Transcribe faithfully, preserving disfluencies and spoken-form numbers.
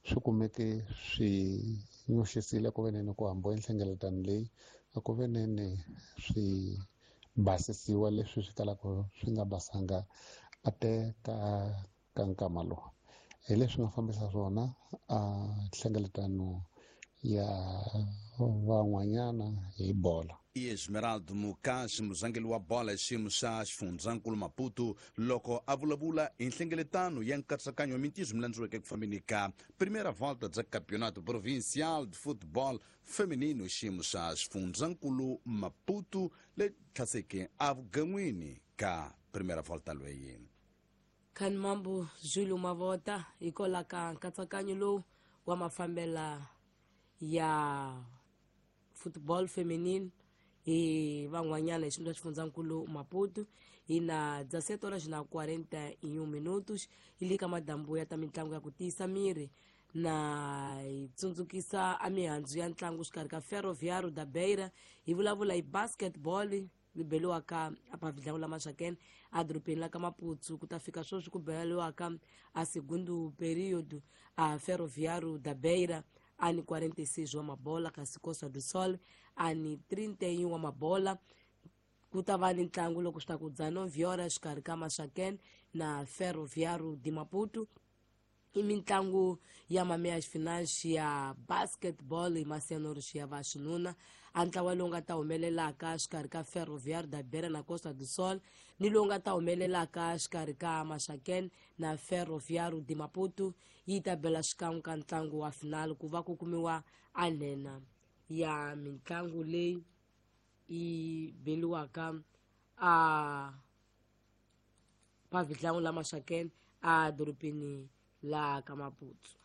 Swi kumeke swi nyoxisile ku veneni ku hambiwa nhlengeletano leyi a ku veneni swi basisiwa leswi swi kalaka swi nga basanga a te ka ka nkama lowu. Hi leswi nga fambisa swona a nhlengeletano ya van'wanyana hi bola. Esmeraldo Mukashi, muzangeli wa bola hi xiyimo xa xifundzankulu Maputo, loko a vulavula hi nhlengeletano ya nkatsakanyo wa mintirho mi landziweke ku fambeni ka Primeira Volta bya Campeonato Provincial de Futebol Feminino xiyimo xa xifundzankulu Maputo le tlhaseke avugan'wini ka Primeira Volta lweyi. Khanimambo Zulu Mavota hikola ka nkatsakanyo lowu wa mafambela ya football feminine hi van'wanyana hi xiyimo xa xifundzankulu Maputo. Hi na dezessete horas na quarenta e um minutos hi le ka madambu ya ta mitlangu ya ku tiyisa miri na hi tsundzukisa a mihandzu ya ntlangu xikarhi ka Ferroviário da Beira. Hi vulavula hi basketball li beliwaka apa vidlangu la Maxakene a dorobeni la ka Maputo. Ku ta fika sweswi ku beliwaka a segundo período, a Ferroviário da Beira ani quarenta e seis wa mabola, kasi Costa do Sol ani trinta e um wa mabola. Ku ta va ni ntlangu loko swi ta ku dezenove horas xikarhi ka Maxakene na Ferroviário de Maputo. I mitlangu ya meias finais ya basketball hi masenor ya va xinuna. A ntlawa lowu nga ta humelelaka xikarhi ka Ferroviário da Beira na Costa do Sol ni lowu nga ta humelelaka xikarhi ka Maxakene na Ferroviário de Maputo yi ta bela xikan'we ka ntlangu wa final ku va ku kumiwa a nhenha ya mitlangu leyi yi beliwaka a pa vitlangu la Maxakene a dorobeni la ka Maputo.